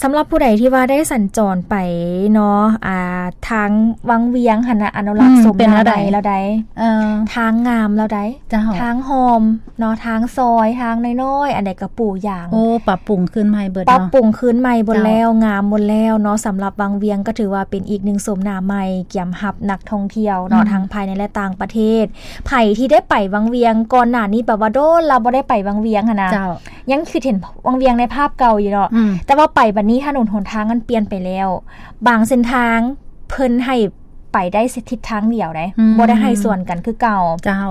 ສຳລັບຜູ້ໃດທີ່ວ່າໄດ້ສັນຈອນໄປເນາະ ອ່າ ທາງວັງວຽງຫັ້ນນະ ອະນຸລັກ ອືມ ສົມ ເປັນແນວໃດ ແລ້ວໃດ ເອີ ທາງງາມແລ້ວໃດ ເຈົ້າ ທາງຮ່ອມເນາະ ທາງຊອຍ ທາງນ້ອຍໆ ອັນໃດກໍປູຢາງ ໂອ້ ປັບປຸງຄືນໃໝ່ເບິດເນາະ ປັບປຸງຄືນໃໝ່ເບິດແລ້ວ ເຈົ້າ ງາມໝົດແລ້ວເນາະ. ສຳລັບວັງວຽງກໍຖືວ່າເປັນອີກໜຶ່ງໂສມໜ້າໃໝ່ ກຽມຮັບນັກທ່ອງທ່ຽວເນາະ ອືມ ທັງພາຍໃນ ແລະ ຕ່າງປະເທດ. ໃຜທີ່ໄດ້ໄປວັງວຽງກ່ອນໜ້ານີ້ ແປວ່າດົນລະບໍ່ໄດ້ໄປວັງວຽງຫັ້ນນະ ເຈົ້າ ຍັງຄິດເຫັນວັງວຽງໃນພາບເກົ່າຢູ່ເນາະ ອືມ ແຕ່ວ່າໄປບັດນີ້ຖະໜົນຫົນທາງມັນປ່ຽນໄປແລ້ວ ບາງເສັ້ນທາງເພິ່ນໃຫ້ໄປໄດ້ທິດທາງດຽວໃດ ອືມ ບໍ່ໄດ້ໃຫ້ສວນກັນຄືເກົ່າ ເຈົ້າ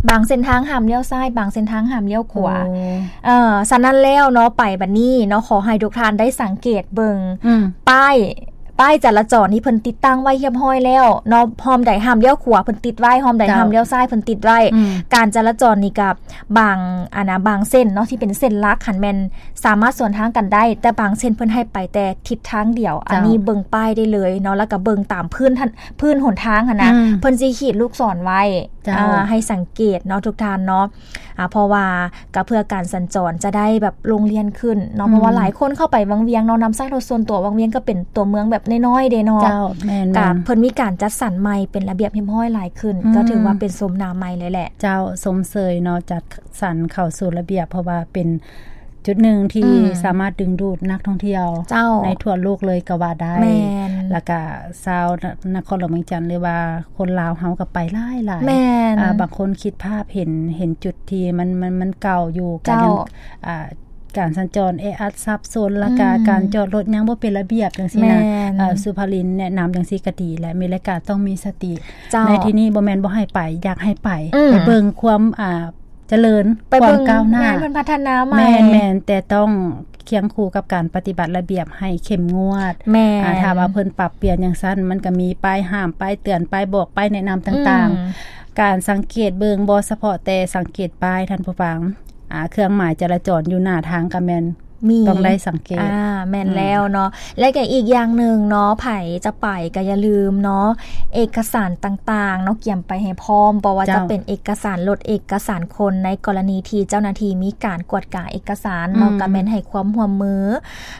ບາງເສັ້ນທາງຫ້າມລ້ຽວຊ້າຍ ບາງເສັ້ນທາງຫ້າມລ້ຽວຂວາ ໂອ້ ເອີ ສະນັ້ນແລ້ວເນາະ ໄປບັດນີ້ເນາະ ຂໍໃຫ້ທຸກທ່ານໄດ້ສັງເກດເບິ່ງ ອືມ ປ້າຍ ປ້າຍຈະລາຈອນທີ່ເພິ່ນຕິດຕັ້ງໄວ້ຮຽບຮ້ອຍແລ້ວເນາະ ຮ່ອມໃດຫ້າມລ້ຽວຂວາເພິ່ນຕິດໄວ້ ຮ່ອມໃດ ເຈົ້າ ຫ້າມລ້ຽວຊ້າຍເພິ່ນຕິດໄວ້ ອືມ ການຈະລາຈອນນີ້ກໍບາງ ອັນນະ ບາງເສັ້ນເນາະ ທີ່ເປັນເສັ້ນຫຼັກຫັ້ນແມ່ນສາມາດສວນທາງກັນໄດ້ ແຕ່ບາງເສັ້ນເພິ່ນໃຫ້ໄປແຕ່ທິດທາງດຽວ ເຈົ້າ ອັນນີ້ເບິ່ງປ້າຍໄດ້ເລີຍເນາະ ແລ້ວກໍເບິ່ງຕາມພື້ນ ພື້ນຫົນທາງຫັ້ນນະ ອືມ ເພິ່ນຊິຂີດລູກສອນໄວ້ ເຈົ້າ ອ່າ ໃຫ້ສັງເກດເນາະ ທຸກທ່ານເນາະ ອ່າ ເພາະວ່າກໍເພື່ອການສັນຈອນຈະໄດ້ແບບໂລ່ງລ່ຽນຂຶ້ນເນາະ ອືມ ເພາະວ່າຫຼາຍຄົນເຂົ້າໄປວັງວຽງເນາະ ນຳໃຊ້ລົດສ່ວນຕົວ ວັງວຽງກໍເປັນຕົວເມືອງແບບນ້ອຍໆເດ້ເນາະ ເຈົ້າ ແມ່ນໆ ກໍເພິ່ນມີການຈັດສັນໃໝ່ເປັນລະບຽບຮຽບຮ້ອຍຫຼາຍຂຶ້ນ ອືມ ກໍຖືວ່າເປັນໂສມໜ້າໃໝ່ເລີຍແຫຼະ ເຈົ້າ ຊົມເຊີຍເນາະ ຈັດສັນເຂົ້າສູ່ລະບຽບ ເພາະວ່າເປັນ ຈຸດໜຶ່ງທີ່ ອືມ ສາມາດດຶງດູດນັກທ່ອງທ່ຽວ ເຈົ້າ ໃນທົ່ວໂລກເລີຍກໍວ່າໄດ້ ແມ່ນ ແລ້ວກະຊາວນະ ນະຄອນຫຼວງວຽງຈັນ ຫຼືວ່າຄົນລາວເຮົາກໍໄປຫຼາຍໆ ແມ່ນ ອ່າ ບາງຄົນຄິດພາບເຫັນ ເຫັນຈຸດທີ່ມັນ ມັນ ມັນເກົ່າຢູ່ ເຈົ້າ ການ ອ່າ ການສັນຈອນແອອັດສັບສົນ ແລ້ວກະ ອືມ ການຈອດລົດຍັງບໍ່ເປັນລະບຽບຈັ່ງຊີ້ນະ ແມ່ນ ເອີ ສຸພາລິນແນະນຳຈັ່ງຊີ້ກໍດີແຫຼະ ມີລາຍການຕ້ອງມີສະຕິ ເຈົ້າ ໃນທີ່ນີ້ບໍ່ແມ່ນບໍ່ໃຫ້ໄປ ຢາກໃຫ້ໄປ ອືມ ໄປເບິ່ງຄວາມ ອ່າ ຈະເລີນ ໄປເບິ່ງ ຄວາມກ້າວໜ້າ ງານເພິ່ນພັດທະນາໃໝ່ ແມ່ນໆ ແຕ່ຕ້ອງຄຽງຄູ່ກັບການປະຕິບັດລະບຽບໃຫ້ເຂັ້ມງວດ ແມ່ນ ອ່າ ຖ້າວ່າເພິ່ນປັບປ່ຽນຈັ່ງຊັ້ນ ມັນກໍມີປ້າຍຫ້າມ ປ້າຍເຕືອນ ປ້າຍບອກ ປ້າຍແນະນຳຕ່າງໆ ອືມ ການສັງເກດເບິ່ງ ບໍ່ສະເພາະແຕ່ສັງເກດປ້າຍ ທ່ານຜູ້ຟັງ ອ່າ ເຄື່ອງໝາຍຈະລາຈອນຢູ່ໜ້າທາງກໍແມ່ນ ມີ ຕ້ອງໄດ້ສັງເກດ ອ່າ ແມ່ນ ອືມ ແລ້ວເນາະ ແລະກໍອີກຢ່າງໜຶ່ງເນາະ ໃຜຈະໄປກໍຢ່າລືມເນາະ ເອກະສານຕ່າງໆເນາະ ກຽມໄປໃຫ້ພ້ອມ ບໍ່ວ່າຈະ ເຈົ້າ ເປັນເອກະສານລົດ ເອກະສານຄົນ ໃນກໍລະນີທີ່ເຈົ້າໜ້າທີ່ມີການກວດກາເອກະສານເນາະ ອືມ ກໍແມ່ນໃຫ້ຄວາມຮ່ວມມື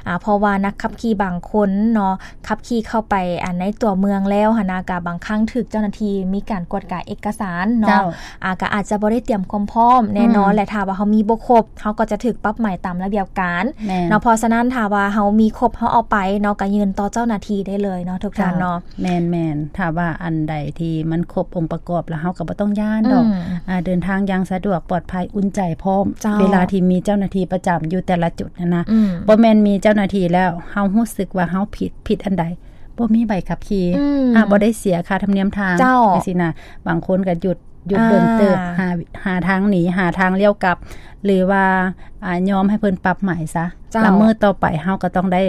ອ່າ ເພາະວ່ານັກຂັບຂີ່ບາງຄົນເນາະ ຂັບຂີ່ເຂົ້າໄປ ອ່າ ໃນຕົວເມືອງແລ້ວຫັ້ນນະ ກະບາງຄັ້ງຖືກເຈົ້າໜ້າທີ່ມີການກວດກາເອກະສານເນາະ ເຈົ້າ ອ່າ ກະອາດຈະບໍ່ໄດ້ຕຽມຄວາມພ້ອມແນ່ນອນ ອືມ ແລະ ຖ້າວ່າເຮົາມີບໍ່ຄົບ ເຮົາກໍຈະຖືກປັບໃໝຕາມລະບຽບການ ແມ່ນ ເນາະ ເພາະສະນັ້ນ ຖ້າວ່າເຮົາມີຄົບ ເຮົາເອົາໄປເນາະ ກະຍື່ນຕໍ່ເຈົ້າໜ້າທີ່ໄດ້ເລີຍເນາະ ທຸກທ່ານເນາະ ເຈົ້າ ແມ່ນໆ ຖ້າວ່າອັນໃດທີ່ມັນຄົບອົງປະກອບ ແລ້ວເຮົາກໍບໍ່ຕ້ອງຢ້ານດອກ ອືມ ອ່າ ເດີນທາງຢ່າງສະດວກ ປອດໄພ ອຸ່ນໃຈພ້ອມ ເຈົ້າ ເວລາທີ່ມີເຈົ້າໜ້າທີ່ປະຈຳຢູ່ແຕ່ລະຈຸດຫັ້ນນະ ອືມ ບໍ່ແມ່ນມີເຈົ້າໜ້າທີ່ແລ້ວ ເຮົາຮູ້ສຶກວ່າເຮົາຜິດ ຜິດອັນໃດ ບໍ່ມີໃບຂັບຂີ່ ອືມ ອ່າ ບໍ່ໄດ້ເສຍຄ່າທຳນຽມທາງ ເຈົ້າ ຈັ່ງຊີ້ນະ ບາງຄົນກໍຢຸດ ຢຸດດົນເຕີບ ອ່າ ຫາ ຫາທາງໜີ ຫາທາງລ້ຽວກັບ ຫຼືວ່າ ອ່າ ຍອມໃຫ້ເພິ່ນປັບໃໝຊະ ເຈົ້າ ລະມື້ຕໍ່ໄປເຮົາກໍຕ້ອງໄດ້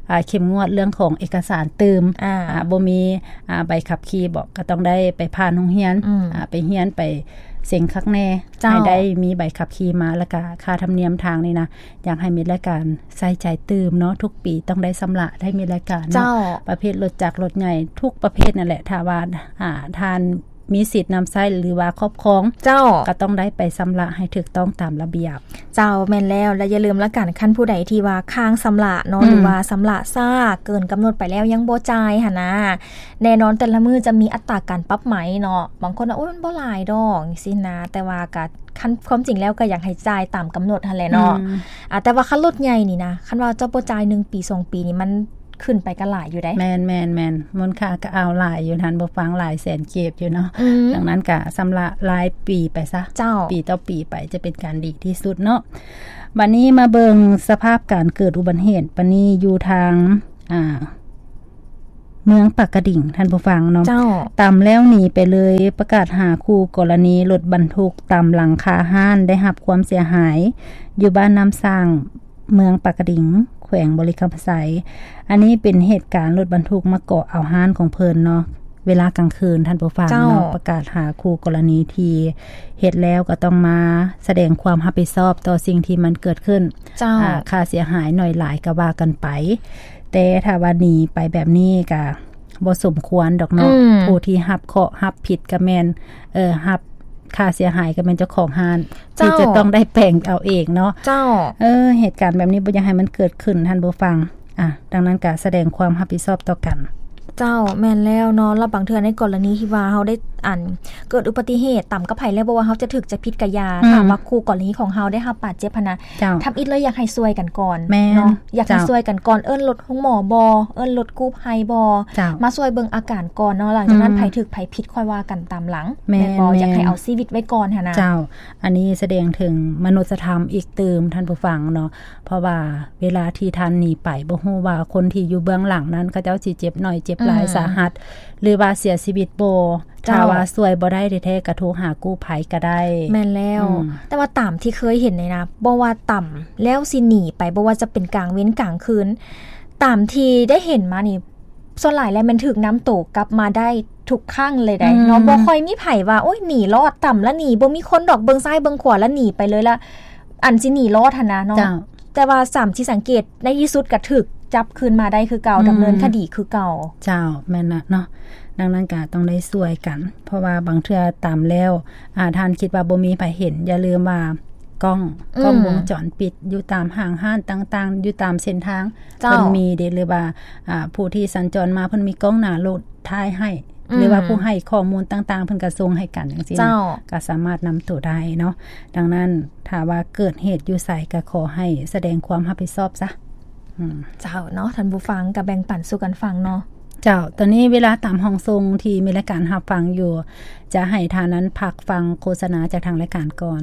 ອ່າ ເຂັ້ມງວດເລື່ອງຂອງເອກະສານຕື່ມ ອ່າ ອ່າ ບໍ່ມີ ອ່າ ໃບຂັບຂີ່ບໍ ກໍຕ້ອງໄດ້ໄປຜ່ານໂຮງຮຽນ ອືມ ອ່າ ໄປຮຽນ ໄປເສັງຄັກແນ່ ເຈົ້າ ໃຫ້ໄດ້ມີໃບຂັບຂີ່ມາ ແລ້ວກະຄ່າທຳນຽມທາງນີ້ນະ ຢາກໃຫ້ມີລາຍການໃສ່ໃຈຕື່ມເນາະ ທຸກປີຕ້ອງໄດ້ຊຳລະ ໄດ້ມີລາຍການເນາະ ເຈົ້າ ປະເພດລົດຈັກລົດໃຫຍ່ທຸກປະເພດນັ້ນແຫຼະ ຖ້າວ່າ ອ່າ ທ່ານມີສິດນຳໃຊ້ ຫຼືວ່າຄອບຄອງ ເຈົ້າ ກໍຕ້ອງໄດ້ໄປຊຳລະໃຫ້ຖືກຕ້ອງຕາມລະບຽບ ເຈົ້າ ແມ່ນແລ້ວ ແລະ ຢ່າລືມລະກັນ ຄັນຜູ້ໃດທີ່ວ່າຄ້າງຊຳລະເນາະ ອືມ ຫຼືວ່າຊຳລະຊ້າເກີນກຳນົດໄປແລ້ວ ຍັງບໍ່ຈ່າຍຫັ້ນນະ ແນ່ນອນແຕ່ລະມື້ຈະມີອັດຕາການປັບໃໝເນາະ ບາງຄົນວ່າ ໂອ້ຍ ມັນບໍ່ຫຼາຍດອກ ຈັ່ງຊີ້ນະ ແຕ່ວ່າກໍ ຄັນ ຄວາມຈິງແລ້ວກໍຢາກໃຫ້ຈ່າຍຕາມກຳນົດຫັ້ນແຫຼະເນາະ ອືມ ອ່າ ແຕ່ວ່າຄັນລົດໃຫຍ່ນີ້ນະ ຄັນວ່າເຈົ້າບໍ່ຈ່າຍໜຶ່ງປີ ສອງປີນີ້ ມັນ ຂຶ້ນໄປກໍຫຼາຍຢູ່ເດ້. ແມ່ນໆໆ ມູນຄ່າກໍເອົາຫຼາຍຢູ່ ທ່ານຜູ້ຟັງ ຫຼາຍແສນກີບຢູ່ເນາະ. ອືມ ດັ່ງນັ້ນກໍຊຳລະລາຍປີໄປຊະ ເຈົ້າ ປີຕໍ່ປີໄປ ຈະເປັນການດີທີ່ສຸດເນາະ. ບັດນີ້ມາເບິ່ງສະພາບການເກີດອຸບັດເຫດ ບັດນີ້ຢູ່ທາງ ອ່າ ເມືອງປາກກະດິງ ທ່ານຜູ້ຟັງເນາະ. ເຈົ້າ ຕຳແລ້ວໜີໄປເລີຍ ປະກາດຫາຄູ່ກໍລະນີລົດບັນທຸກຕຳຫຼັງຄາຮ້ານໄດ້ຮັບຄວາມເສຍຫາຍ ຢູ່ບ້ານນ້ຳສ້າງ ເມືອງປາກກະດິງ ແຂວງບໍລິຄຳໄຊ. ອັນນີ້ເປັນເຫດການລົດບັນທຸກມາເກາະເອົາຮ້ານຂອງເພິ່ນເນາະ ເວລາກາງຄືນ ທ່ານຜູ້ຟັງເນາະ. ເຈົ້າ ປະກາດຫາຄູ່ກໍລະນີທີ່ເຮັດແລ້ວກໍຕ້ອງມາສະແດງຄວາມຮັບຜິດຊອບຕໍ່ສິ່ງທີ່ມັນເກີດຂຶ້ນ. ເຈົ້າ ອ່າ ຄ່າເສຍຫາຍໜ້ອຍຫຼາຍກໍວ່າກັນໄປ ແຕ່ຖ້າວ່າໜີໄປແບບນີ້ກໍບໍ່ສົມຄວນດອກເນາະ. ອືມ ຜູ້ທີ່ຮັບເຄາະຮັບຜິດກໍແມ່ນ ເອີ ຮັບຄ່າເສຍຫາຍກໍແມ່ນເຈົ້າຂອງຮ້ານ ເຈົ້າ ທີ່ຈະຕ້ອງໄດ້ແປງເອົາເອງເນາະ. ເຈົ້າ ເອີ ເຫດການແບບນີ້ບໍ່ຢາກໃຫ້ມັນເກີດຂຶ້ນ ທ່ານຜູ້ຟັງ. ອ່າ ດັ່ງນັ້ນກໍສະແດງຄວາມຮັບຜິດຊອບຕໍ່ກັນ. ເຈົ້າ ແມ່ນແລ້ວເນາະ. ແລ້ວບາງເທື່ອໃນກໍລະນີທີ່ວ່າເຮົາໄດ້ ອັນ ເກີດອຸບັດຕິເຫດຕຳກັບໃຜແລ້ວ ບໍ່ວ່າເຮົາຈະຖືກຈະຜິດກະຢ່າ ອືມ ຖ້າວ່າຄູ່ກໍລະນີຂອງເຮົາໄດ້ຮັບບາດເຈັບຫັ້ນນະ ເຈົ້າ ທຳອິດເລີຍຢາກໃຫ້ຊ່ວຍກັນກ່ອນ. ແມ່ນ ເນາະ ຢາກໃຫ້ ເຈົ້າ ຊ່ວຍກັນກ່ອນ ເອີ້ນລົດໂຮງໝໍບໍ ເອີ້ນລົດກູ້ໄພບໍ ເຈົ້າ ມາຊ່ວຍເບິ່ງອາການກ່ອນເນາະ. ຫຼັງຈາກນັ້ນ ອືມ ໃຜຖືກໃຜຜິດຄ່ອຍວ່າກັນຕາມຫຼັງ. ແມ່ນ ແມ່ນບໍ່? ແມ່ນ ຢາກໃຫ້ເອົາຊີວິດໄວ້ກ່ອນຫັ້ນນະ. ເຈົ້າ ອັນນີ້ສະແດງເຖິງມະນຸດສະທຳອີກຕື່ມ ທ່ານຜູ້ຟັງເນາະ. ເພາະວ່າເວລາທີ່ທ່ານໜີໄປ ບໍ່ຮູ້ວ່າຄົນທີ່ຢູ່ເບື້ອງຫຼັງນັ້ນ ເຂົາເຈົ້າຊິເຈັບໜ້ອຍເຈັບຫຼາຍ ອືມ ສາຫັດ ຫຼືວ່າເສຍຊີວິດບໍ່. ເຈົ້າ ຖ້າວ່າຊ່ວຍບໍ່ໄດ້ແທ້ໆ ກໍໂທຫາກູ້ໄພກໍໄດ້. ແມ່ນແລ້ວ ອືມ ແຕ່ວ່າຕາມທີ່ເຄີຍເຫັນນີ້ນະ ບໍ່ວ່າຕຳແລ້ວຊິໜີໄປ ບໍ່ວ່າຈະເປັນກາງເວັນກາງຄືນ ຕາມທີ່ໄດ້ເຫັນມານີ້ ສ່ວນຫຼາຍແລ້ວແມ່ນຖືກນຳໂຕກັບມາໄດ້ທຸກຄັ້ງເລີຍໃດເນາະ. ອືມ ບໍ່ຄ່ອຍມີໃຜວ່າ ໂອ້ຍ ໜີລອດ ຕຳລະໜີ ບໍ່ມີຄົນດອກ ເບິ່ງຊ້າຍເບິ່ງຂວາລະໜີໄປເລີຍລະ ອັນຊິໜີລອດຫັ້ນນະເນາະ. ເຈົ້າ ແຕ່ວ່າຕາມທີ່ສັງເກດ ໃນທີ່ສຸດກໍຖືກຈັບຄືນມາໄດ້ຄືເກົ່າ ອືມ ດຳເນີນຄະດີຄືເກົ່າ. ເຈົ້າ ແມ່ນລະເນາະ. ດັ່ງນັ້ນກໍຕ້ອງໄດ້ຊ່ວຍກັນ ເພາະວ່າບາງເທື່ອຕຳແລ້ວ ອາ ທ່ານຄິດວ່າບໍ່ມີໃຜເຫັນ ຢ່າລືມວ່າກ້ອງ ອືມ ກ້ອງວົງຈອນປິດຢູ່ຕາມຫ້າງຮ້ານຕ່າງໆ ຢູ່ຕາມເສັ້ນທາງ ເຈົ້າ ເພິ່ນມີເດ ຫຼືວ່າ ອາ ຜູ້ທີ່ສັນຈອນມາເພິ່ນມີກ້ອງໜ້າລົດຖ່າຍໃຫ້ ອືມ ຫຼືວ່າຜູ້ໃຫ້ຂໍ້ມູນຕ່າງໆ ເພິ່ນກໍສົ່ງໃຫ້ກັນຈັ່ງຊີ້ນະ ເຈົ້າ ກໍສາມາດນຳໂຕໄດ້ເນາະ. ດັ່ງນັ້ນ ຖ້າວ່າເກີດເຫດຢູ່ໃສ ກໍຂໍໃຫ້ສະແດງຄວາມຮັບຜິດຊອບຊະ. ອືມ ເຈົ້າເນາະ ທ່ານຜູ້ຟັງ ກໍແບ່ງປັນສູ່ກັນຟັງເນາະ. ເຈົ້າ ຕອນນີ້ເວລາຕາມຫ້ອງສົ່ງທີ່ມີລາຍການຮັບຟັງຢູ່ ຈະໃຫ້ທ່ານນັ້ນພັກຟັງໂຄສະນາຈາກທາງລາຍການກ່ອນ.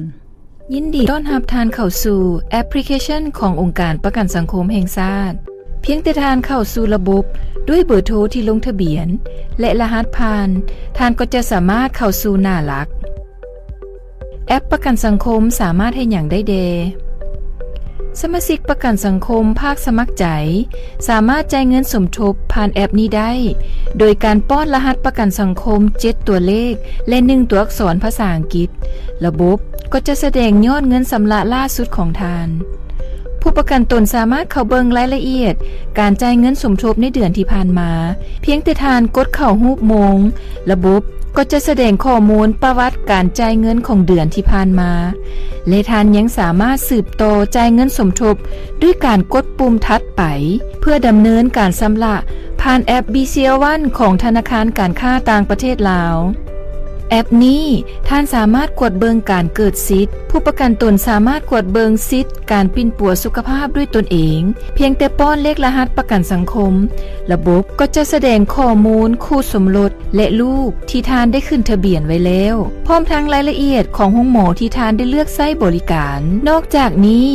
ຍິນດີຕ້ອນຮັບທ່ານເຂົ້າສູ່ແອັບພລິເຄຊັນຂອງອົງການປະກັນສັງຄົມແຫ່ງຊາດ. ພຽງແຕ່ທ່ານເຂົ້າສູ່ລະບົບດ້ວຍເບີໂທທີ່ລົງທະບຽນ ແລະ ລະຫັດຜ່ານ, ທ່ານກໍຈະສາມາດເຂົ້າສູ່ໜ້າຫຼັກ. ແອັບປະກັນສັງຄົມສາມາດເຮັດຫຍັງໄດ້ແດ່? ສະມາຊິກປະກັນສັງຄົມພາກສະໝັກໃຈ ສາມາດຈ່າຍເງິນສົມທົບຜ່ານແອັບນີ້ໄດ້ ໂດຍການປ້ອນລະຫັດປະກັນສັງຄົມເຈັດຕົວເລກ ແລະ ໜຶ່ງຕົວອັກສອນພາສາອັງກິດ. ລະບົບກໍຈະສະແດງຍອດເງິນຊຳລະຫຼ້າສຸດຂອງທ່ານ. ຜູ້ປະກັນຕົນສາມາດເຂົ້າເບິ່ງລາຍລະອຽດການຈ່າຍເງິນສົມທົບໃນເດືອນທີ່ຜ່ານມາ. ພຽງແຕ່ທ່ານກົດເຂົ້າຮູບໂມງ, ລະບົບກໍຈະສະແດງຂໍ້ມູນປະຫວັດການຈ່າຍເງິນຂອງເດືອນທີ່ຜ່ານມາ ແລະ ທ່ານຍັງສາມາດສືບຕໍ່ຈ່າຍເງິນສົມທົບດ້ວຍການກົດປຸ່ມຖັດໄປ ເພື່ອດຳເນີນການຊຳລະຜ່ານແອັບ ບີຊີແອລວັນ ຂອງທະນາຄານການຄ້າຕ່າງປະເທດລາວ. ແອັບນີ້ ທ່ານສາມາດກວດເບິ່ງການເກີດສິດ. ຜູ້ປະກັນຕົນສາມາດກວດເບິ່ງສິດການປິ່ນປົວສຸຂະພາບດ້ວຍຕົນເອງ ພຽງແຕ່ປ້ອນເລກລະຫັດປະກັນສັງຄົມ. ລະບົບກໍຈະສະແດງຂໍ້ມູນຄູ່ສົມລົດ ແລະ ລູກທີ່ທ່ານໄດ້ຂຶ້ນທະບຽນໄວ້ແລ້ວ, ພ້ອມທັງລາຍລະອຽດຂອງໂຮງໝໍທີ່ທ່ານໄດ້ເລືອກໃຊ້ບໍລິການ. ນອກຈາກນີ້,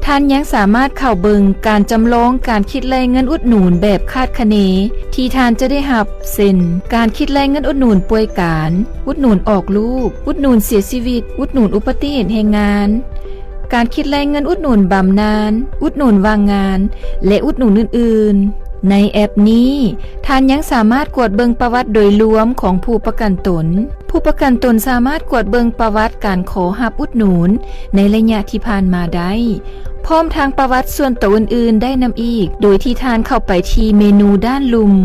ທ່ານຍັງສາມາດເຂົ້າເບິ່ງການຈຳລອງການຄິດໄລ່ເງິນອຸດໜູນແບບຄາດຄະເນທີ່ທ່ານຈະໄດ້ຮັບ, ເຊັ່ນ ການຄິດໄລ່ເງິນອຸດໜູນປ່ວຍການ, ອຸດໜູນອອກລູກ, ອຸດໜູນເສຍຊີວິດ, ອຸດໜູນອຸປະຕິເຫດແຮງງານ, ການຄິດໄລ່ເງິນອຸດໜູນບຳນານ, ອຸດໜູນວ່າງງານ ແລະ ອຸດໜູນອື່ນໆ. ໃນແອັບນີ້, ທ່ານຍັງສາມາດກວດເບິ່ງປະຫວັດໂດຍລວມຂອງຜູ້ປະກັນຕົນ. ຜູ້ປະກັນຕົນສາມາດກວດເບິ່ງປະຫວັດການຂໍຮັບອຸດໜູນໃນໄລຍະທີ່ຜ່ານມາໄດ້, ພ້ອມທັງປະຫວັດສ່ວນໂຕອື່ນໆໄດ້ນຳອີກ, ໂດຍທີ່ທ່ານເຂົ້າໄປທີ່ເມນູດ້ານລຸ່ມ.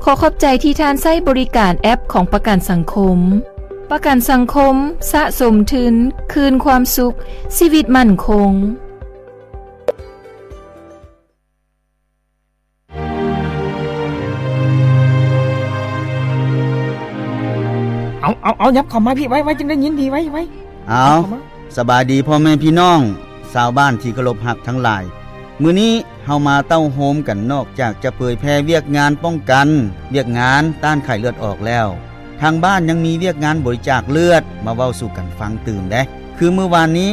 ຂໍຂອບໃຈທີ່ທ່ານໃຊ້ບໍລິການແອັບຂອງປະກັນສັງຄົມ. ປະກັນສັງຄົມ, ສະສົມທຶນ, ຄືນຄວາມສຸກ, ຊີວິດໝັ້ນຄົງ. ເອົາ ເອົາ ເອົາ ຫຍັບເຂົ້າມາພີ້ ໄວໆ ຈຶ່ງໄດ້ຍິນດີ ໄວໆ. ເອົາ ເຂົ້າມາ ສະບາຍດີພໍ່ແມ່ພີ່ນ້ອງຊາວບ້ານທີ່ເຄົາລົບຮັກທັງຫຼາຍ. ມື້ນີ້ເຮົາມາເຕົ້າໂຮມກັນ ນອກຈາກຈະເຜີຍແຜ່ວຽກງານປ້ອງກັນ, ວຽກງານຕ້ານໄຂ້ເລືອດອອກແລ້ວ, ທາງບ້ານຍັງມີວຽກງານບໍລິຈາກເລືອດ ມາເວົ້າສູ່ກັນຟັງຕື່ມເດ້. ຄືມື້ວານນີ້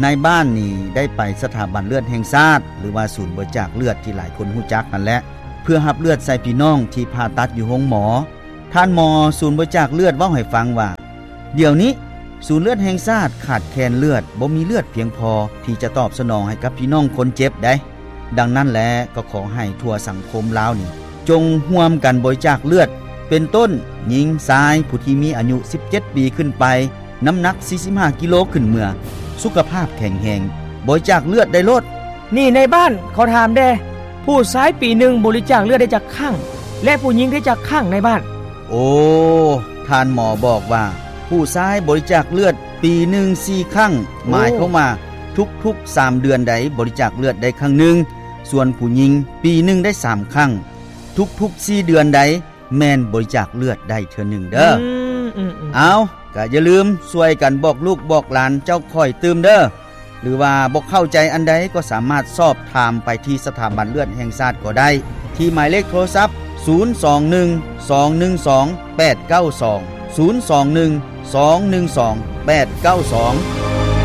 ນາຍບ້ານນີ້ໄດ້ໄປສະຖາບັນເລືອດແຫ່ງຊາດ ຫຼືວ່າສູນບໍລິຈາກເລືອດທີ່ຫຼາຍຄົນຮູ້ຈັກຫັ້ນແຫຼະ ເພື່ອຮັບເລືອດໃສ່ພີ່ນ້ອງທີ່ຜ່າຕັດຢູ່ໂຮງໝໍ. ທ່ານໝໍສູນບໍລິຈາກເລືອດເວົ້າໃຫ້ຟັງວ່າ ດຽວນີ້ສູນເລືອດແຫ່ງຊາດຂາດແຄນເລືອດ, ບໍ່ມີເລືອດພຽງພໍທີ່ຈະຕອບສະໜອງໃຫ້ກັບພີ່ນ້ອງຄົນເຈັບໄດ໋. ດັ່ງນັ້ນແຫຼະ ກໍຂໍໃຫ້ທົ່ວສັງຄົມລາວນີ້ ຈົ່ງຮ່ວມກັນບໍລິຈາກເລືອດ ເປັນຕົ້ນ ຍິງ, ຊາຍ, ຜູ້ທີ່ມີອາຍຸສິບເຈັດປີຂຶ້ນໄປ, ນ້ຳໜັກສີ່ສິບຫ້າກິໂລຂຶ້ນເມືອ, ສຸຂະພາບແຂງແຮງ, ບໍລິຈາກເລືອດໄດ້ໂລດ. ນີ້ນາຍບ້ານ ຂໍຖາມແດ່, ຜູ້ຊາຍປີໜຶ່ງບໍລິຈາກເລືອດໄດ້ຈັກຄັ້ງ ແລະ ຜູ້ຍິງໄດ້ຈັກຄັ້ງນາຍບ້ານ? ໂອ້ ທ່ານໝໍບອກວ່າ ຜູ້ຊາຍບໍລິຈາກເລືອດປີໜຶ່ງສີ່ຄັ້ງ, ໂອ້ ໝາຍຄວາມວ່າທຸກໆສາມເດືອນໃດບໍລິຈາກເລືອດໄດ້ຄັ້ງໜຶ່ງ, ສ່ວນຜູ້ຍິງປີໜຶ່ງໄດ້ສາມຄັ້ງ, ທຸກໆສີ່ເດືອນໃດແມ່ນບໍລິຈາກເລືອດໄດ້ເທື່ອໜຶ່ງເດີ້. ອືມ ອືມ ອືມ. ເອົາ ກະຢ່າລືມຊ່ວຍກັນບອກລູກບອກຫຼານເຈົ້າຂ້ອຍຕື່ມເດີ້. ຫຼືວ່າບໍ່ເຂົ້າໃຈອັນໃດກໍສາມາດສອບຖາມໄປທີ່ສະຖາບັນເລືອດແຫ່ງຊາດກໍໄດ້ ທີ່ໝາຍເລກໂທລະສັບ ສູນສອງໜຶ່ງ ສອງໜຶ່ງສອງ ແປດເກົ້າສອງ, ສູນສອງໜຶ່ງ ສອງໜຶ່ງສອງ ແປດເກົ້າສອງ.